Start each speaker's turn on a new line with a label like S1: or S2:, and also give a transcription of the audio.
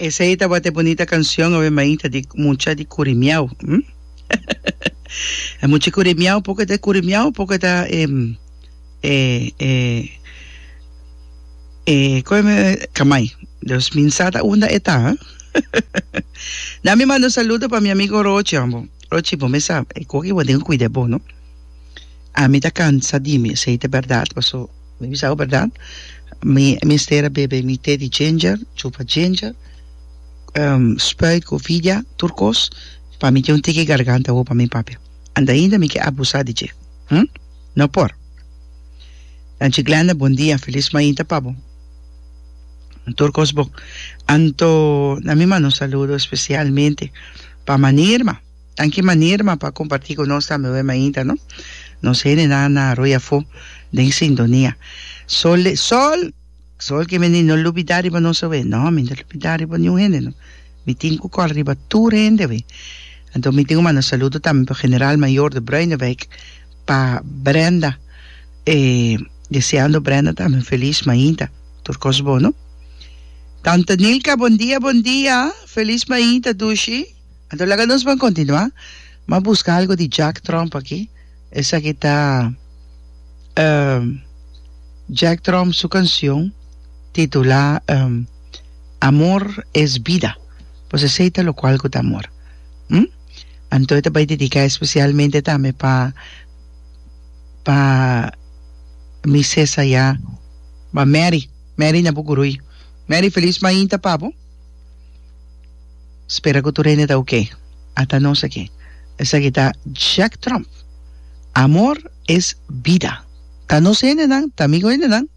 S1: Esei tabata e bunita cancion awe mainta di mucha di Curimiao. Hm? E mucha Curimiao poco ta Curimiao poco ta e e e e come Kamai. Dus min sa ta unda e ta. Na mi manda un saludo pa mi amigo Rochi ambo. Rochi bo me sa e koki bo tin cuida bo no. Ami ta cansa di mi esei ta berdad paso Mi bisa bo berdad, mi mester a bebe mi te di ginger, chupa ginger, spuit ku vidia, tur kos, pa mi tin un tiki garganta awor pa mi papia. Anda ainda mi ke abusa di dje. Hm? No por. Tanchi Glenda, bon dia, felis mainta pa bo. Tur kos bon. Anto, na mi manda un saludo especialmente pa Manirma. Danki Manirma pa comparti cu nos tambe awe mainta no. Nos hendenan na Arroyo Afo den sintonia. Sol sol sol ke mende no lubida riba nos awe. No mi no lubida riba niun hende no. Mi tin cu cor riba tur hende awe. Anto mi tin cu manda saludo tambe pa General Mayor de Bruinewijk pa Brenda e deseando Brenda tambe un feliz mainta. Tur cos bon no. Tante Nilka bon dia bon dia feliz mainta dushi. Anto laga nos ban kontinuá. M'a buska algu di Jack Tromp aki. Esaki ta Jack Tromp su kansion titulá Amor es Bida. Pues esei ta lokual ku ta amor. Hm? Anto e ta bai dediká espesialmente tambe pa pa mi ses ayá, pa Mary. Mary na Bucurui. Mary felis mainta pa bo. Spera ku tur hende ta oke. Ata nos aki. Esaki ta Jack Trump. Amor es bida. Ta nos hendenan, ta amigo hendenan.